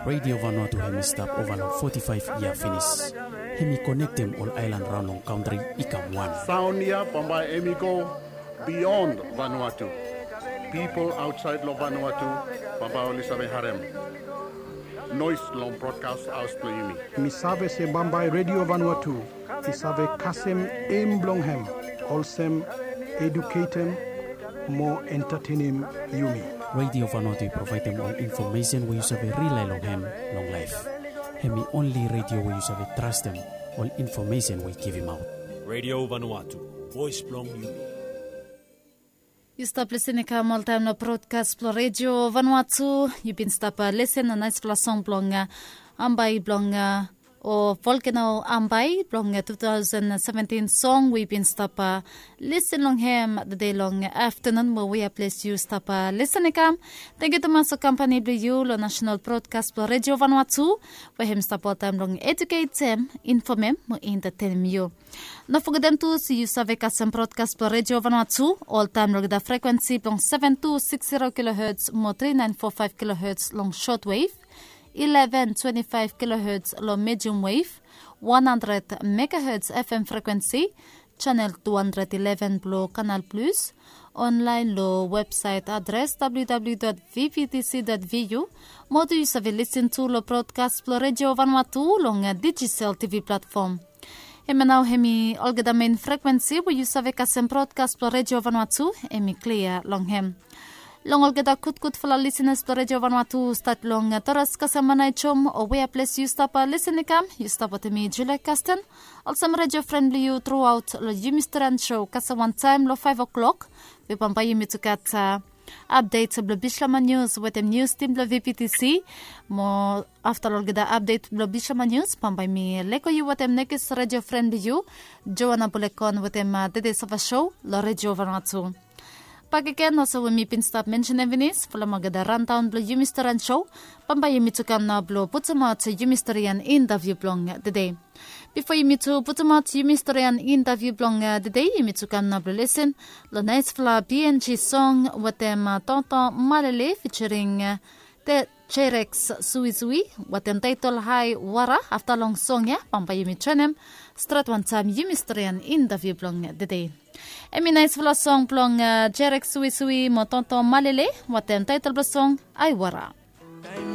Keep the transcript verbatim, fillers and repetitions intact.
Radio Vanuatu hem i stap ova long foti faef yia finis. Hem i konektem ol aelan raon long kantri i kam wan. Saon ya bambae hem i go bion Vanuatu. Pipol aotsaed long Vanuatu bambae oli save harem noes long brodkas haos blong yumi. Mi save se bambae Radio Vanuatu i save kasem em blong hem olsem eduketem mo entatenem yumi. Radio Vanuatu i provaedem ol infomesen we yu save rilae long hem long laef. Hem i onli radio we yu save trastem ol infomesen we i givimaot. Radio Vanuatu, voes blong yumi. Yu stap lisin i kam oltaem long brodkas blong Radio Vanuatu. Yu bin stap lisin long naesfala song blong Ambai blong o Volkeno Ambai blong tu taosen seventin song we yu bin stap lisin long hem tede long aftanun mo wea ples yu stap lisin i kam. Tangkiu tumas long kampani blong yu long nasenal brodkas blong Radio Vanuatu we hem stap oltaem long eduketem, infomem mo entatenem yu. No fogetem tu se yu save kasem brodkas blong Radio Vanuatu oltaem long olgeta frekwensi blong seven two six zero kilohertz mo three nine four five kilohertz long shortwave, eleven twenty-five kilohertz long medium wave, one hundred megahertz F M frekwensi, chanel two hundred eleven blong Canal Plus, onlaen long websaet adres W W W dot V V T C dot V U, mo tu yu save lisin tu long brodkas blong Radio Vanuatu long Digicel T V platfom. Hemia nao hem i olgeta men frekwensi we yu save kasem brodkas blong Radio Vanuatu hem i klia long hem. Long olgeta gudgudfala lisinas blong Radio Vanuatu stat long Toras kasem Manaejom o wea ples yu stap lisin i kam, yu stap wetem mi Julia Kasten. Olsem radio fren blong yu truaot long yumi storian sho kasem wantaem long faef o'klok, we bambae yumi tu gat apdet blong Bislama Nius wetem nius tim blong V P T C. Mo afta long olgeta apdet blong Bislama Nius bambae mi lego yu wetem nekis radio fren blong yu, Joana Bulekon wetem tede sava sho long Radio Vanuatu. Bakegen olsem we mi bin stap mensenem finis, folem olgeta randaon blong yumi storian sho, bambae yumi tu kam nao blong putumaot yumi storian intaviu blong tede. Bifo yumi tu putumaot yumi storian intaviu blong tede, yumi tu kam nao blong lisin long naesfala B N G song wetem Tonton Malele fitiring Jerex Suisui wetem taetol Hae Wara. Afta long song ya bambae yumi joenem stret wantaem yumi storian intaviu blong tede. Hem i naesfala song blong Jerex Suisui mo Tonton Malele wetem taetol blong song Hae Wara.